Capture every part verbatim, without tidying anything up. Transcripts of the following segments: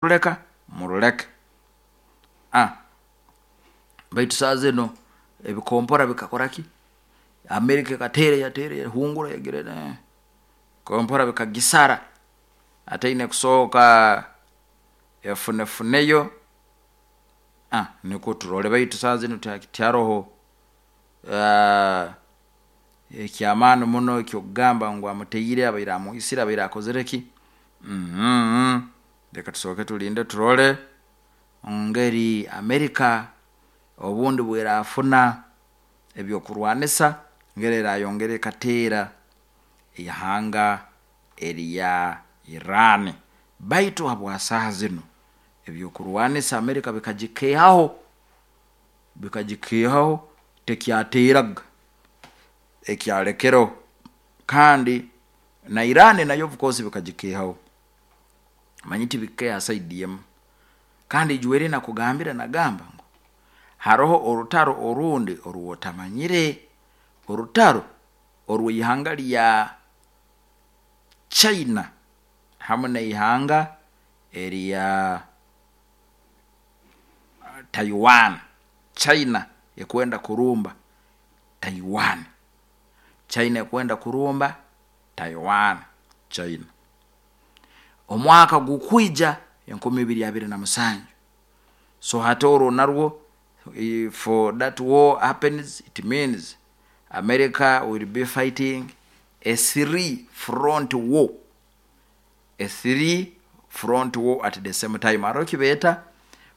Ruleka muruleke. Ah, baitu saa zino ebikompora bikakora ki? Amerika ekateera, yateera, yahungura, yagira, kompora bikagisara, ataine kusooka efunefuneyo. Ah, nikwo turole, baitu saaha zinu tiharoho ekyamaani muno ekyokugamba ngu amuteire, abaire amwisire, abaire akozire ki. Leka tusooke tulinde turole engeri America obundi obwerafuna ebyokurwanisa, engeri erayongera ekateera ihanga erya Iran. Baitu habwa saaha zinu ebyokurwanisa America bikagikeehaho, bikagikeehaho, tekyateeraga, ekyalekereho, kandi na Iran nayo of course bikagikeehaho, manya tibikukeeha side emu. Kandi ijweri nakugambire nagamba ngu haroho orutaro orundi oru otamanyire, orutaro orwihanga rya China hamu neihanga erya Taiwan. China ekwenda kurumba Taiwan, China ekwenda kurumba Taiwan, China omwaaka gukwiija enkumi ibiri abiri na musanju. So hati oru narwo, if that war happens, it means America will be fighting a three front war, a three front war at the same time. Haroho ekibeeta,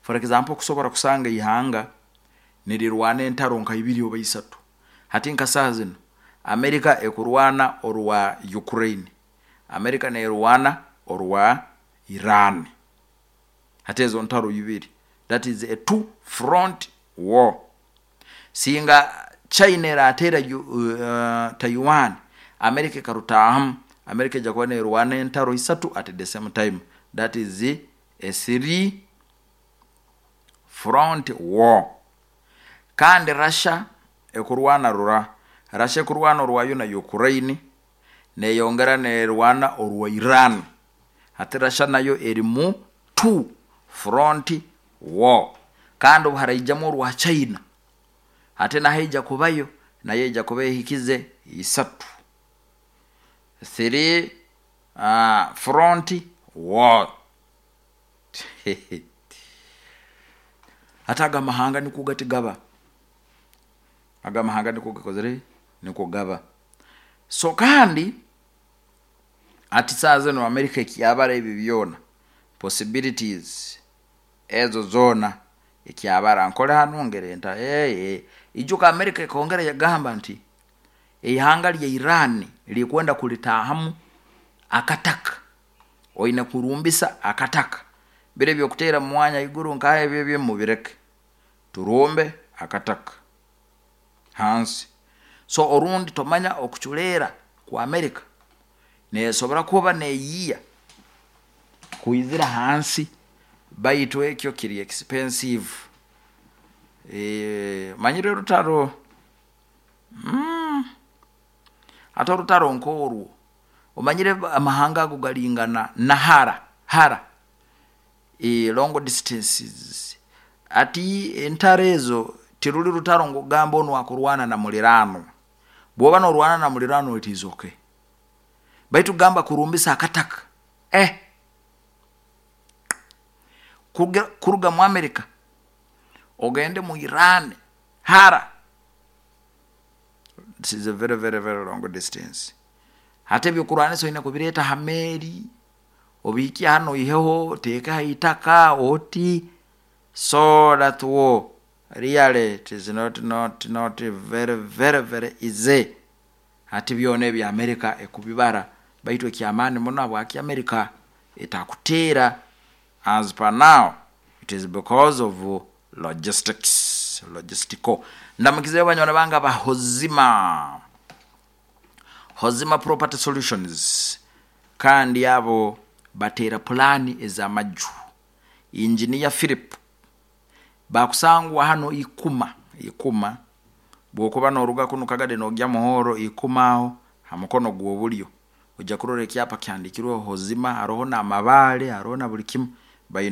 for example, kusobola kusanga ihanga nirirwaana entaro nka ibiri oba isatu. Hati nka saaha zinu America ekurwaana orwa Ukraine, America nerwaana orwa Iran, hati ezo ntaro ibiri, that is a two front war. Singa China erateera uh, Taiwan, America ekarutaahamu, America eija kuba nerwaana entaro isatu at the same time, that is a three front war. Kandi Russia ekurwaana rura, Russia ekurwaana orwayo na Ukraine, neyongera nerwaana orwa Iran. Hati Russia nayo eri mu two front war. Kandi obu haraijamu orwa China, hati naho eija kubayo, nayo eija kuba ehikize isatu, three uh, front war. Hati aga amahanga nikwo gati gaba, aga amahanga nikwo gakozire, nikwo gaba. So kandi hati saaha zinu America ekyabara ebi byoona, possibilities ezo zoona ekyabara, nkole hanu, ngere nta. Hey, ijuka America ekongera yagamba nti ihanga rya Iran rikwenda kuritaahamu akataka, oine kurumbisa akataka, biro ebyokuteera mumwanya haiguru nkaha ebi ebyo mubireke, turumbe akataka hansi. So orundi tomanya okuculeera kwa America nesobora kuba neyiiya kwizira hansi, baitu ekyo kiri expensive. E, manyire orutaro mm, hati orutaro nkorwo, omanyire amahanga ago garingana na hara hara, e, long distances. Hati entaro ezo tiruri rutaro ngu ogambe onu akurwana na muliraanwa. Bwoba norwana na muliraanwa, it is okay, baitu kugamba kurumbisa akataka, eh, kuruga mu America ogende mu Iran hara, this is a very very very long distance. Hati ebyokurwanisa oine kubireeta ha meeri, obihikye hanu, oiheho oteeke ha itaka oti. So that war really, it is not not not very very very easy. Hati byona ebi America ekubibara, baitu ekyamaani muno, habwaki America etakuteera as per now, it is because of logistics, logistical. Ndamukizeyo banywani bange aba Hozima, Hozima Property Solutions, kandi abo bateera pulaani ez'amaju. Engineer Philip bakusangwa hano Ikuma, Ikuma bwokuba noruga kunu Kagadi nogya Muhoro, Ikuma aho ha mukono gw'obulyo ojja kurora ekyapa kihandikirweho Hozima, haroho n'amabaale, haroho na buli kimu. Baina